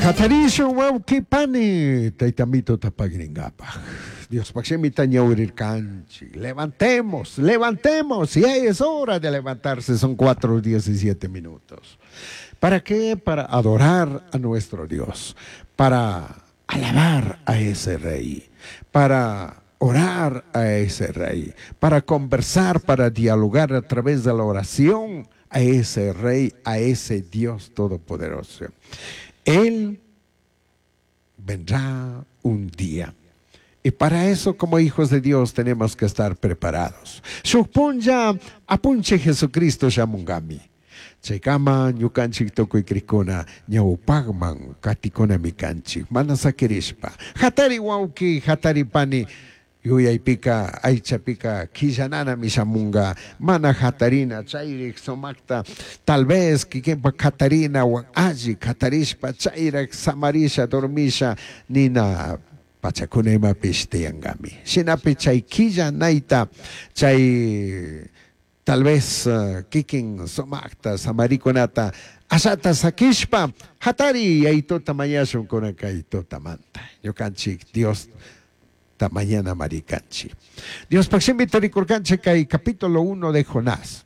Hatarishun wawqi pani tayta Mituta pagringapaj. Diospaj shimita ñawirirkanchik. Levantemos, levantemos. Ya es hora de levantarse. Son 4:17 minutos. ¿Para qué? Para adorar a nuestro Dios. Para alabar a ese rey. Para orar a ese rey. Para conversar, para dialogar a través de la oración a ese rey, a ese Dios todopoderoso. Él vendrá un día. Y para eso, como hijos de Dios, tenemos que estar preparados. Shuj punlla apunchij Jesucristo shamungami. Chaykama ñukanchik tukuy crijkuna ñawpakman katikuna kanchik. Mana sakirishpa. Hatari wawki, hatari pani. Yuyaypika, aychapika, quillananami shamunga, mana hatarina, chayrik sumakta, tal vez kikinpa hatarina, wan alli hatarishpa, chayrak samarisha, dormisha, nina pachakuna imapish tiyankami. Shinapi chay quillanayta, chay tal vez kikin sumakta, samarikunata, ashata sakishpa, hatari yayituta mañashun kunanka tutamanta. Ñukanchik Dios ta mañana marikanchik. Diospaj shimita rikurkanchik kay capítulo 1 de Jonás.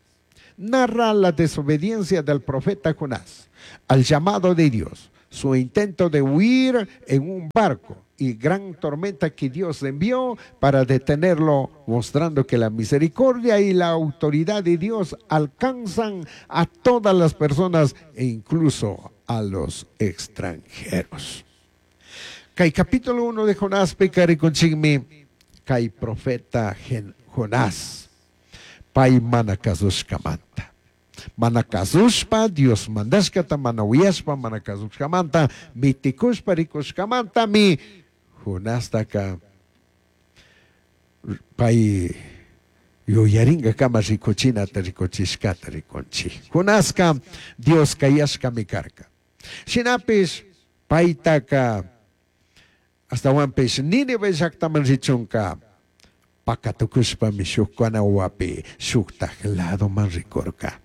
Narra la desobediencia del profeta Jonás al llamado de Dios, su intento de huir en un barco y gran tormenta que Dios envió para detenerlo, mostrando que la misericordia y la autoridad de Dios alcanzan a todas las personas e incluso a los extranjeros. Kay capítulo 1 de Jonás pika rikunchikmi kay profeta Jonás pay mana kasushkamanta. Mana kasushpa Dios mandashkata mana uyashpa mana kasushkamanta mitikushpa rikushkamantami Jonastaka pay yuyaringakama rikuchinata rikuchishkata rikunchik. Jonaska Dios kayashkami karka. Shinapish paytaka astawanpish Nínive llaktaman richunka pakatukushpami shuk canoapi shuktaj ladoman rikurka.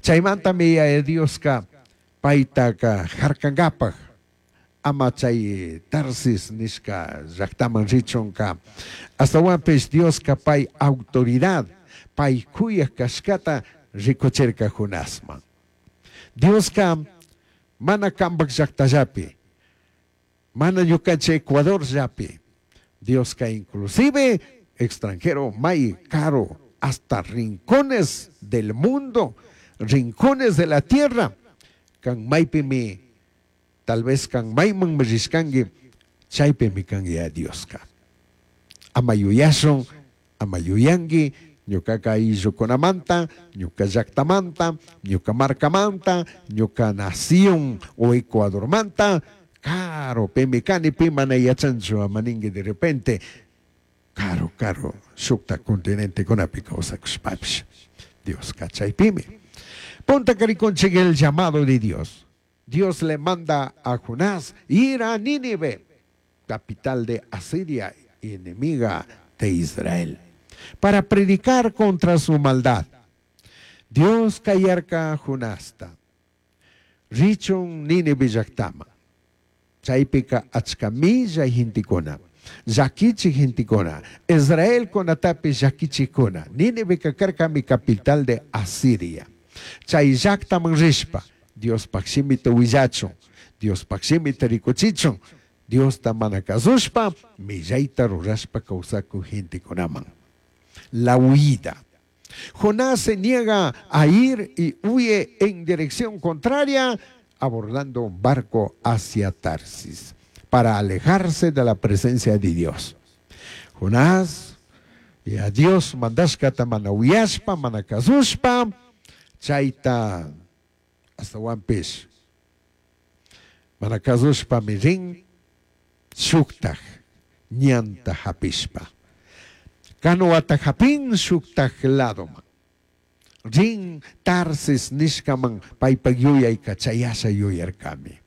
Chaymantami Yaya Dioska paytaka harkankapaj ama chay Tarsis nishka llaktaman richunka astawanpish Dioska pay autoridad pay kuyaj kashkata rikuchirka Jonasman. Dioska mana kanpak llaktallapi, mana ñukanchik Ecuador llapi, Dioska inclusive extranjero may caro hasta rincones del mundo, rincones de la tierra, kan maypimi tal vez kan mayman rishkanki chaypimi kan ya Dioska. Ama yuyashun, ama yuyanki, ñukaka ayllukunamanta, ñuka llaktamanta, ñuka markamanta, ñuka nación o Ecuadormanta, caro, pimi kani, pi mana yachanchu, ama ninki de repente, caro, caro, shukta continentekunapi kawsakushpapish. Dioska chaypimi. Punta rikunchik el llamado de Dios. Dios le manda a Jonás ir a Nínive, capital de Asiria, enemiga de Israel, para predicar contra su maldad. Dios kayarka Jonasta. Richun Nínive llaktama. Chaypika achka millay gentekuna, llakichij gentekuna, Israelkunatapish llakichijkuna. Nínive karkami capital de Asiria. Chay llaktaman rishpa, Diospaj shimita willachun, Diospaj shimita rikuchichun, Diosta mana kasushpa, millayta rurashpa kawsakuj gentekunaman. La huida. Jonás se niega a ir y huye en dirección contraria, abordando un barco hacia Tarsis, para alejarse de la presencia de Dios. Jonás, y a Dios mandashkata mana uyashpa, mana kasushpa, chayta astawanpish mana kasushpa rin shuktaj ñanta hapishpa. Canoata hapin shuktaj ladoman. Rin Tarsis nishkaman paypak yuyayka chayasha yuyarkami.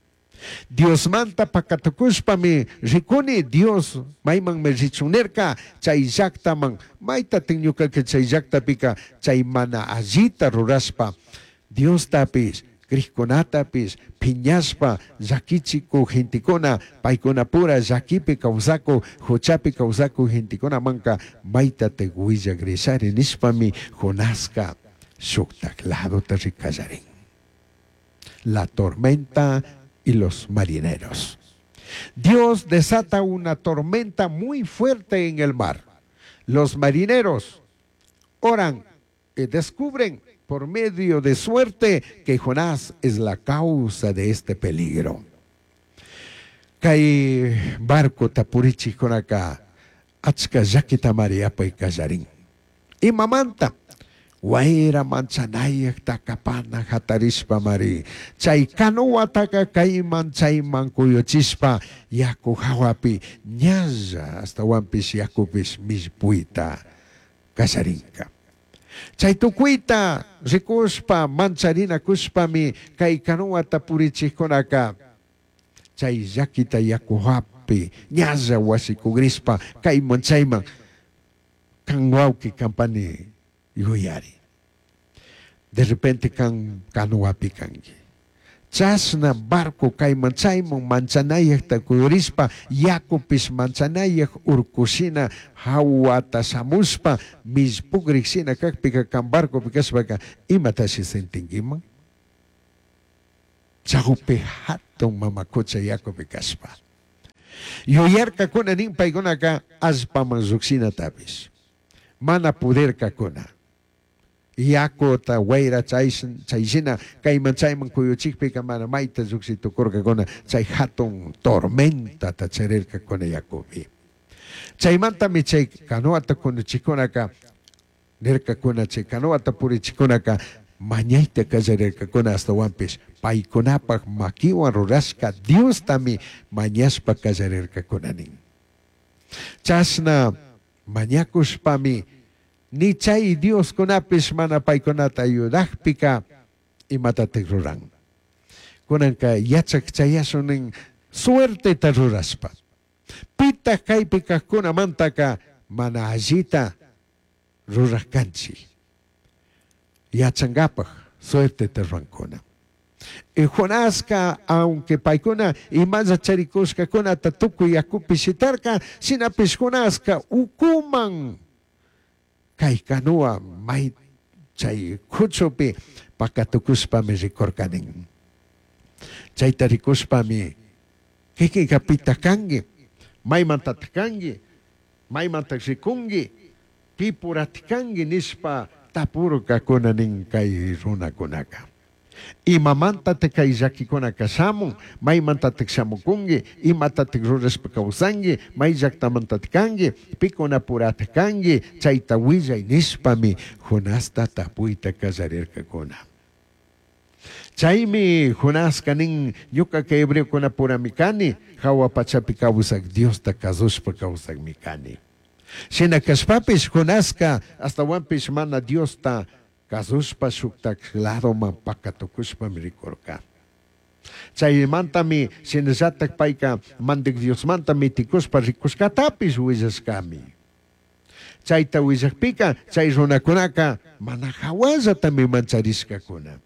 Diosmanta pakatukushpami rikuni Dios maymanmi richun nirka chay llaktaman maytatin ñukaka chay llaktapika chay mana allita rurashpa Diostapish Crijcunatapish piñashpa llaquichicuj gentecuna, paicunapura llaquipi causacuj, juchapi causacuj gentecunamanca maitataj huillagrishari nishpami Jonasca shujtaj ladota ri callarin. La tormenta y los marineros. Dios desata una tormenta muy fuerte en el mar. Los marineros oran y descubren por medio de suerte que Jonás es la causa de este peligro. Kay barcota purichijkunaka achka llaquitamari apay kallarin. Imamanta? Wayra manchanayaj takapana jatarishpamari chay canoataka kayman chayman kuyuchishpa yaku jawapi ñalla ashtawanpish yakupish millpuyta kallarinka. Chay tukuyta rikushpa mancharinakushpami kay canoata purichijkunaka chay llaquita yaku jawapi ñalla wasikugrishpa kayman chayman kan wawqi kan pani yuyari. De repente kan canoapi kanki. Chashna barco kayman chayman manchanayajta kuyurishpa yakupish manchanayaj urkushina hawata shamushpa millpugrijshina kakpika kan barcopi kashpaka imatashi sentinkiman? Chawpi hatun mama kucha yakupi kashpa. Yuyarkakuna nin paykunaka allpaman llukshinatapish. Mana pudirkakuna. Yakuta wayra chayshina kayman chayman kuyuchikpika mana mayta llukshi tukurkakuna chay hatun tormentata charirkakuna yakupi. Chaymantami chay canoata kunuchikunaka nirkakuna chay canoata purichikunaka mañayta kallarirkakuna ashtawanpish paykunapak makiwan rurashka Diostami mañashpa kallarirkakuna nin. Chashna mañakushpami ni chay Dioskunapish mana paykunata ayudajpika imatatik ruran. Kunanka yachak chayashun nin suerteta rurashpa. Pitaq kaypi kajkunamantaka mana allita ruraj kanchik. Yachankapak suerteta rurankuna. Y Jonaska, aunque paykuna imalla charikushkakunata tukuy yakupi shitarka, shinapish Jonaska ukuman kay canoa may chay kuchupi pakatukushpami rikurkanin. Chayta rikushpami kikinka pitaq kanki, maymantataq kanki, maymantaq rikunki, pipuratik kanki nishpa tapurkakuna nin kay runakunaka. Imamantatik kay llakikunaka shamun, maymantatik shamukunki, imatatik rurashpa kawsanki, may llaktamantatik kanki, pikunapuratik kanki, chayta willay nishpami Jonasta tapuyta kallarirkakuna. Chaymi Jonaska nin ñukaka hebreokunapurami kani, hawa pachapi kawsak Diosta kasushpa kawsakmi kani. Shina kashpapish Jonaska ashtawanpish mana Diosta kasushpa shuktak ladoman pakatukushpami rikurka. Chaymantami shinallatak payka mandak Diosmanta mitikushpa rikushkatapish willashkami. Chayta willakpika chay runakunaka mana hawallatami mancharishkakuna.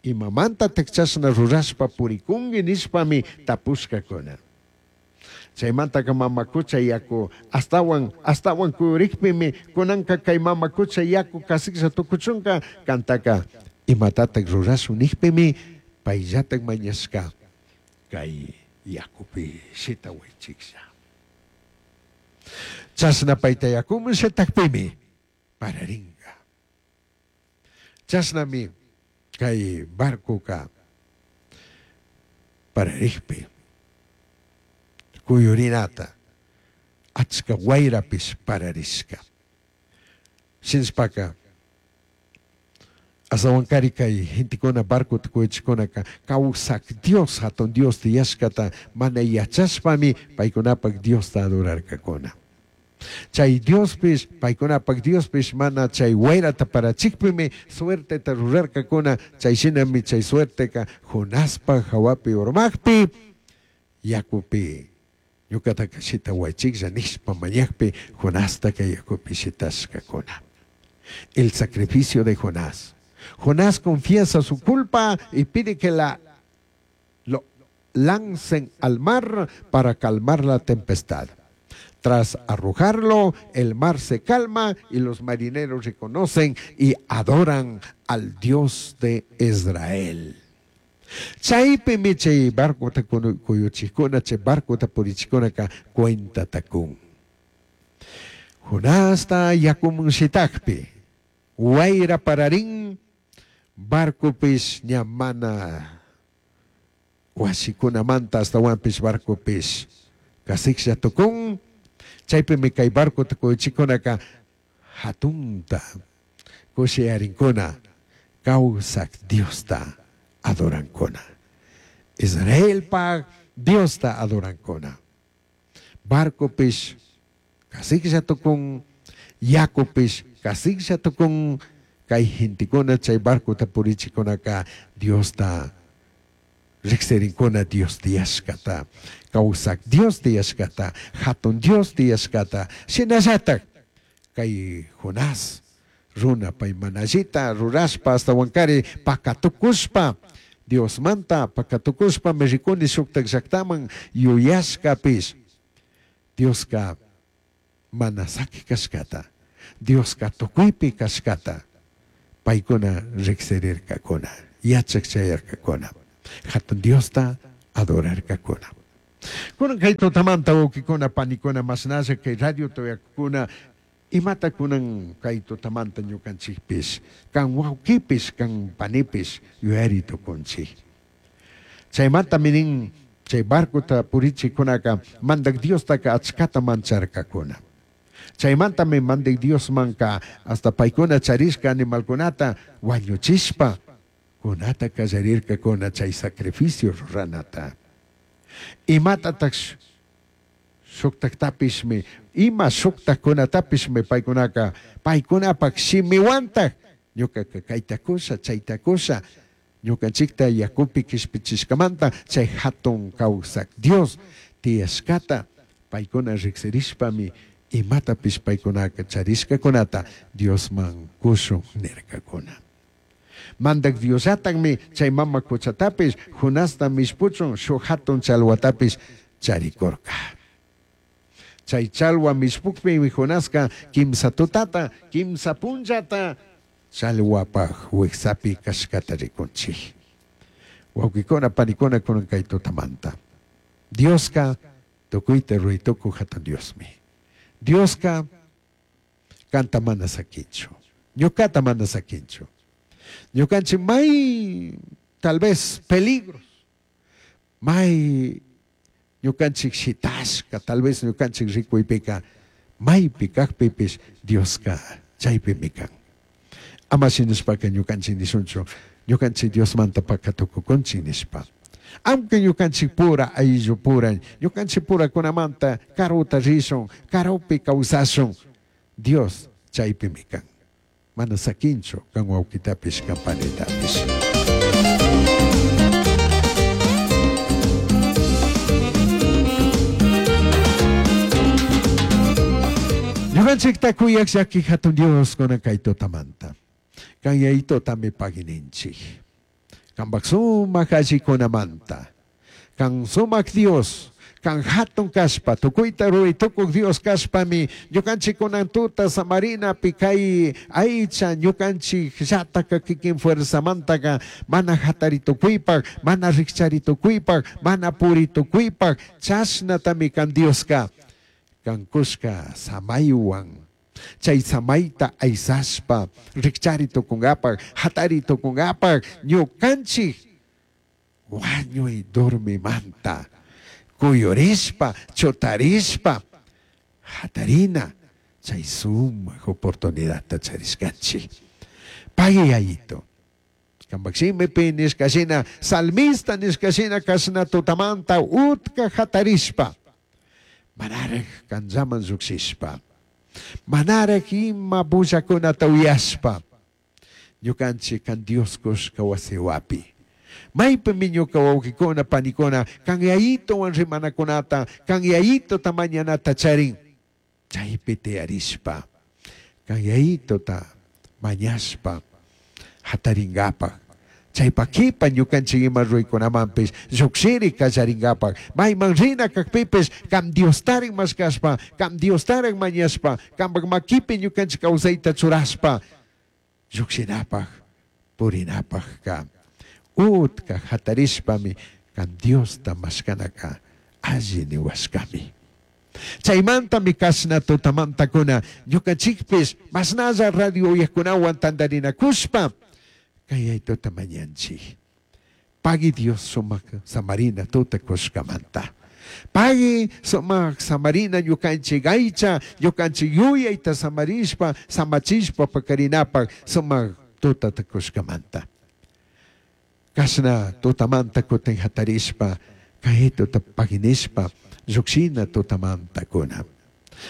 Imamantatak chashna rurashpa purikunki nishpami tapushkakuna. Chaymantaka mama kucha yaku astawan astawan kuyurikpimi kunanka kay mama kucha yaku kasiklla tukuchunka kantaka imatatak rurashun nikpimi payllatak mañashka kay yakupi shitawaychiklla. Chashna payta yakuman shitakpimi pararinka. Chashnami kay barcoka pararikpi kuyurinata achka wayrapish pararishka. Shinashpaka ashtawankari kay gentekuna barcota kuyuchikunaka kawsak Dios hatun Dios tiyashkata mana yachashpami paykunapak Diosta adorarkakuna. Chay Diospish paykunapak Diospish mana chay wayrata parachikpimi suerteta rurarkakuna chay shinami chay suerteka Jonaspa hawapi urmakpi yakupi ñukataka shitawaychiklla nishpa mañakpi Jonastaka yakupi shitashkakuna. El sacrificio de Jonás. Jonás confiesa su culpa y pide que la lo lancen al mar para calmar la tempestad. Tras arrojarlo, el mar se calma y los marineros reconocen y adoran al Dios de Israel. Chaypimi chay barcota kuyuchikuna, chay barcota purichikunaka cuentata kun. Jonasta yakuman shitakpi, wayra pararin, barcopish ña mana wasikunamanta astawanpish barcopish kasiklla tukun. Chaypimi kay barcota kuyuchikunaka hatunta kushiyarinkuna, kawsak Diosta adorankuna. Israelpa Diosta adorankuna. Barcopish kasiklla tukun, yakupish kasiklla tukun, kay gentekuna chay barcota purichikunaka Diosta riksirinkuna, Dios tiyashkata, kawsak Dios tiyashkata, hatun Dios tiyashkata. Shinallatak kay Jonás runa pay manallita rurashpa astawankari pakatukushpa Diosmanta pakatukushpa mi rikuni shuktak llaktaman yuyashkapish Dioska mana saki kashkata, Dioska tukuypi kashkata paykuna riksirirkakuna, yachak chayarkakuna, hatun Diosta adorarkakuna. Kunan kay tutamanta wawkikuna panikuna mashnalla kay radio tuyakukuna imata kunan kay tutamanta ñukanchikpish kan wawkipish kan panipish yuyari tukunchik. Chaymanta minin chay barcota purichikunaka mandak Diostaka achkata mancharkakuna. Chaymantami mandak Diosmanka hasta paykuna charishka animalkunata wañuchishpa kunata kallarirkakuna chay sacrificio ruranata. Imatatak shuktaktapishmi, ima shuktakkunatapishmi paykunaka paykunapak shimiwantak ñukaka kayta kusha chayta kusha ñukanchikta yakupi kishpichishkamanta chay hatun kawsak Dios tiyashkata paykuna riksirishpami imatapish paykunaka charishkakunata Diosman kushun nirkakuna. Mandak Diosllatakmi chay mama kuchatapish Jonasta mishpuchun shuk hatun chalwatapish charikurka. Chay chalwa mishpukpimi Jonaska kimsa tutata, kimsa punllata chalwapaj wiksapi kashkata rikunchik. Wawkikuna panikuna kunan kay tutamanta. Dioska tukuyta ruray hatun Diosmi. Dioska kanta mana sakinchu. Ñukata mana sakinchu. Ñukanchik may tal vez peligros, may ñukanchik shitashka, tal vez ñukanchik rikuypika maypi kaqpipish Dioska chaypimi kan. Ama shinashpaka ñukanchik nishunchu, ñukanchik Diosmanta pakatukukunchik nishpa. Aunque ñukanchik pura ayllu pura, ñukanchik purakunamanta karuta rishun, karupi kawsashun, Dios chaypimi kan. Mana sakinchu kan wawkitapish kan panitapish. Ñukanchikta kuyak llaki hatun Dios kunan kay tutamanta. Kan yayitutami pagininchik. Kanpak sumak allikunamanta. Kan sumak Dios, kan hatun kashpa, tukuyta ruray tukuk Dios kashpami, ñukanchik kunan tuta samarinapi kay aycha ñukanchik llataka kikin fuerzamantaka mana hatari tukuypak, mana rikchari tukuypak, mana puri tukuypak, chashnatami kan Dioska kan kushka samaywan. Chay samayta aysashpa, rikchari tukungapak, hatari tukungapak, ñukanchik wañuy dormimanta, kuyurishpa, chutarishpa, hatarina, chay sumak oportunidadta charishkanchik. Pagui yayito. Kanpak nishka shina, salmista nishka shina kashna tutamanta utka hatarishpa, manaraj kanllaman llukshishpa, manaraj ima bullakunata uyashpa, ñukanchik kan Dios kushka wasiwapi. Maypimi ñuka wawqikuna panikuna kan yayituwan rimanakunata, kan yayituta mañanata charin, chaypi tiyarishpa, kan yayituta mañashpa, Jataringapaj, chaipa quipa ñucanchij ima ruraicunamanpish llujshiri callaringapaj, maiman rina cajpipish can Diostarin mashcashpa, can Diostarin mañashpa, cambaj maquipi ñucanchij causaita churashpa llujshinapaj, purinapajca utca jatarishpami can Diosta mashcanaca alli nihuashcami. Chaimantami cashna tutamantacuna ñucanchijpish mashnalla radio uyajcunahuan tandarinacushpa cayai tuta mañanchij. Pagui Dios sumaj samarina tuta cushcamanta. Pagui sumaj samarina ñucanchij aicha, ñucanchij yuyaita samarishpa, samachishpa pacarinapaj sumaj tutata cushcamanta. Cashna tutamanta cutin jatarishpa, cai tuta paguinishpa, llujshina tutamantacuna.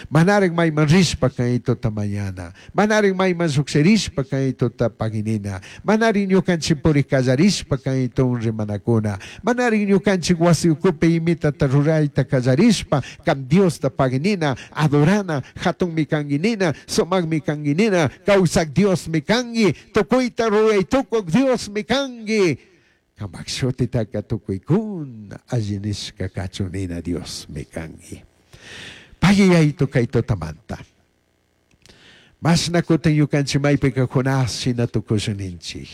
Manaraj maiman rishpa cai tuta mañana, manaraj maiman llujshirishpa cai tuta paguinina, manaraj ñucanchij puri callarishpa cai tun rimanacuna, manaraj ñucanchij huasi ucupi imitata ruraita callarishpa can Diosta paguinina, adorana, jatunmi canguinina, sumajmi canguinina, causaj Diosmi cangui, tucuita rurai tucuj Diosmi cangui. Cambaj shutitaca tucuicuna alli nishca cachun nina Diosmi cangui. Pagui yayitu cai tutamanta. Mashna cutin ñucanchij maipica Jonás shina tucushun ninchij.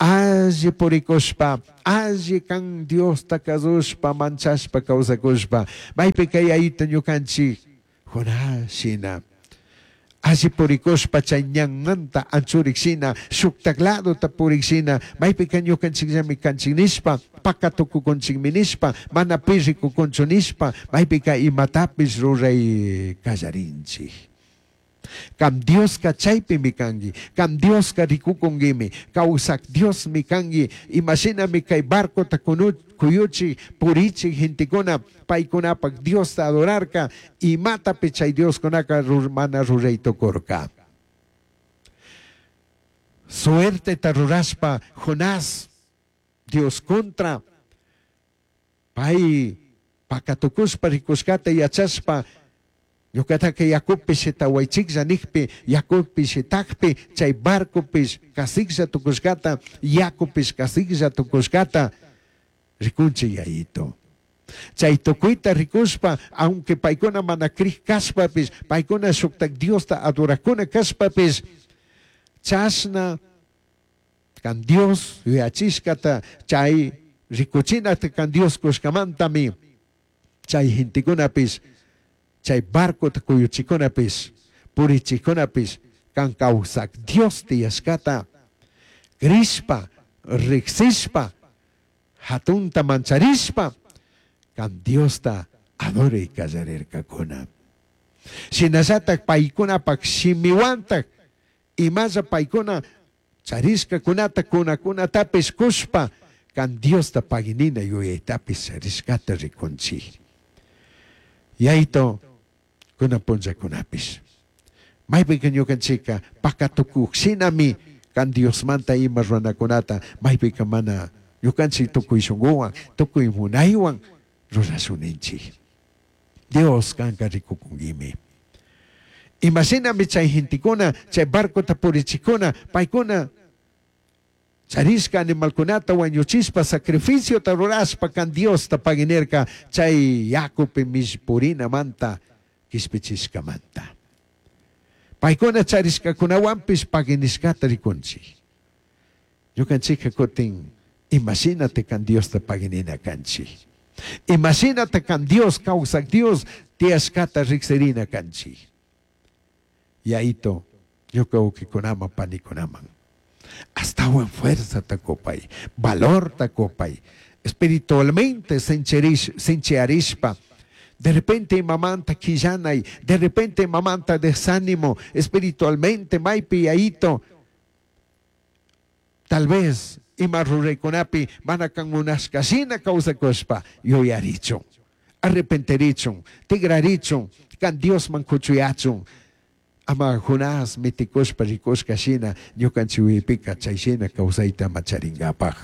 Alli puricushpa, alli can Diosta cazushpa, manchashpa causacushpa, maipica yayitu ñucanchij Jonás shina alli puricushpa chay ñanmanta anchurik shina, shuktak ladota purik shina, maipica ñucanchikllami canchik nishpa, paca tucucunchikmi nishpa, mana pi ricucunchu nishpa, maipica imatapish ruray callarinchik. Can Diosca chaypimi cangui, can Diosca ricucunguimi, causac Diosmi cangui, imashinami cay barcota cuyuchij, purichij gentecuna paicunapac Diosta adorarca, imatapi chay Dioscunaca mana ruray tucurca. Suerteta rurashpa Jonás Dios contra pai pacatucushpa ricushcata yachashpa ñucataca yacupi shitahuaichijlla nijpi, yacupi shitajpi chay barcopish casijlla tucushcata, yacupish casijlla tucushcata ricunchij yayito. Chay tucuita ricushpa, aunque paicuna mana crij cashpapish, paicuna shuktak Diosta adorajcuna cashpapish, chashna can Dios yuyachishcata chay ricuchinata can Dios cushcamantami chay gentecunapish, chay barcota cuyuchicunapish, purichicunapish, can causac Dios tiyashcata crishpa, rijsishpa, jatunta mancharishpa, can Diosta adoray callarircacuna. Shinallatak paicunapak shimiwantak imalla paicuna charishcacunata cunacunatapish cushpa can Diosta paguinina yuyaytapish charishcata ricunchij. Yayito kunan punllakunapish. Maypika ñukanchikka pacatukuj shinami can Diosmanta ima runakunata maypika mana ñukanchik tukuy shunkuwan, tukuy munaywan rurashuninchik. Dios kanka rikukunguimi. Imashinami chay gentekuna, chay barcota purichikuna, paykuna charishka animalkunata wañuchishpa sacrificiota rurashpa kan Diosta paguinirka chay yakupi mishpurinamanta kishpichishkamanta. Paykuna charishkakunawanpish paguinishkata rikunchik. Ñukanchikka kutin imashinata kan Diosta paguinina kanchik. Imashinata kan Dios kawsak Dios tiyashkata riksirina kanchik. Yayito ñuka wawkikunaman panikunaman astawan fuerzata kupay, valorta kupay, espiritualmente sinchiarishpa, de repente imamanta quillanay, de repente imamanta desánimo, espiritualmente maypi yayito, tal vez ima ruraykunapi mana kan munashkashina kawsakushpa yuyarichun, arrepentirichun, tigrarichun, kan Diosman kuchuyachun, ama Jonás mitikushpa rikushka shina ñukanchik wipika chay shina kawsayta macharingapaj.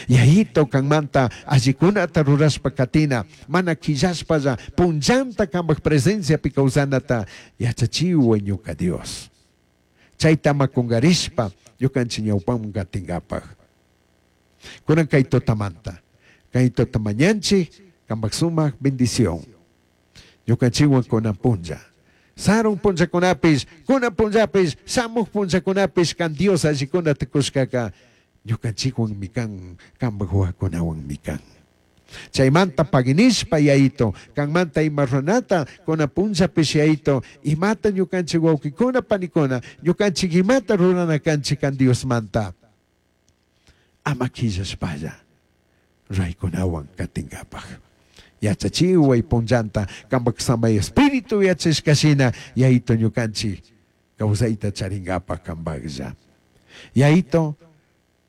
Yayito kanmanta allikunata rurashpa katina, mana quillashpalla punllanta kambaj presenciapi kawsanata yachachiway ñuka Dios. Chayta ama kungarishpa ñukanchik ñawpaman katingapaj. Kunan kay tutamanta, kay tuta mañanchik kanpak sumak bendición. Ñukanchikwan kunan punlla. Sarun punllakunapish, kunan punllapish, shamuj punllakunapish kan Dios allikunata kushkaka ñukanchikwanmi kan, kanpak wawakunawanmi kan. Chaymanta paginishpa Yayito, kanmanta ima ruranata kunan punllapish Yayito, imata ñukanchik wawkikuna panikuna, ñukanchik imata rurana kanchik kan Diosmanta. Ama quillashpalla raykunawan katingapaj. Yachachiway punllanta kanpak samay espíritu yachashka shina Yayito ñukanchik kawsayta charingapaj kanpaklla. Yayito,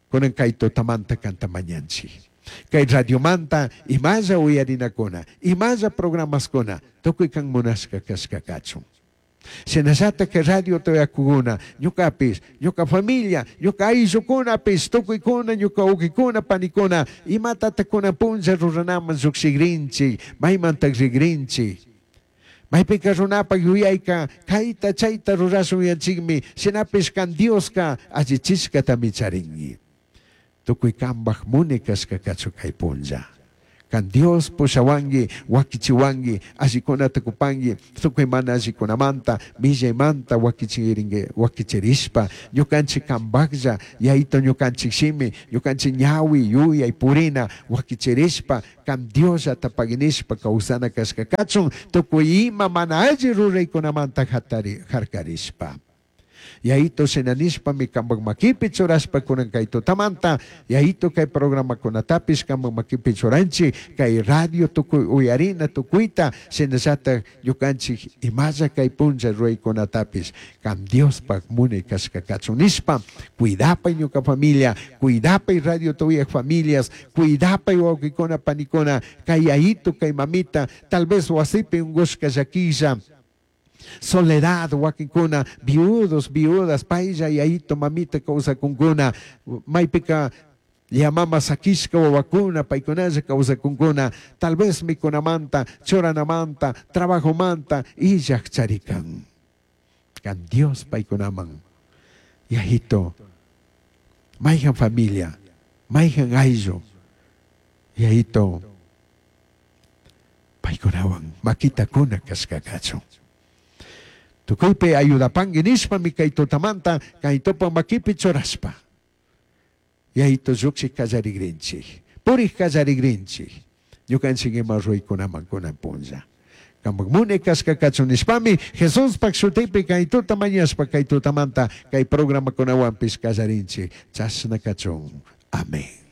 kunan kay tutamanta kanta mañanchik. Kay radiomanta imalla uyarinakuna, imalla programaskuna, tukuy kan munashka kashka kachun. Shinallatak kay radio tuyakukuna, ñukapish, ñuka familia, ñuka ayllukunapish, tukuykuna, ñuka wawkikuna, panikuna, imatata kunan punlla ruranaman llukshikrinchik, maymantak rikrinchik. Maypika runapak yuyayka kayta chayta rurashun yanchikmi, shinapish kan Dioska allichishkatami charinki. Tukuy kanpak muni kashka kachun kay punlla. Kan Dios pushawanki, wakichiwanki, allikunata kupanki, tukuy mana allikunamanta, millaymanta wakichirinki, wakichirishpa, ñukanchik kanpaklla, Yayito ñukanchik shimi, ñukanchik ñawi, yuyay, purina, wakichirishpa, kan Diosllata paginishpa kawsana kashka kachun, tukuy ima mana alli ruraykunamanta hatari, harkarishpa. Yayito shinanishpami kanpak makipi churashpa kunan kay tutamanta, Yayito kay programakunatapish kanpak makipi churanchik, kay radio tukuy uyarina tukuyta, shinallatak ñukanchik imalla kay punlla ruraykunatapish kan Diospak munay kashka kachun nishpa, cuidapay ñuka familia, cuidapay radio tuyak familias, cuidapay wawkikuna panikuna, kay yayito, kay mamita, tal vez wasipi ungushka llakilla, soledad, wakinkuna, viudos, viudas, paylla, yayito, mamita kawsakunkuna, maypika yamama sakishka wawakuna, paykunalla kawsakunkuna, tal vez mikunamanta, churanamanta, trabajomanta, illaj charikan. Kan Dios paykunaman, yayito, mayjan familia, mayjan ayllu, yayito, paykunawan makitakuna kashka kachun. Tukuypi ayudapanki nishpami kay tutamanta kay tupa makipi churashpa. Yayito llukshik kallarigrinchik, purik kallarigrinchik, ñukanchik ima ruraykunaman kunan punlla. Kanpak munay kashka kachun nishpami Jesuspak shutipi kay tuta mañashpa kay tutamanta kay programakunawanpish kallarinchik. Chashna kachun. Amén.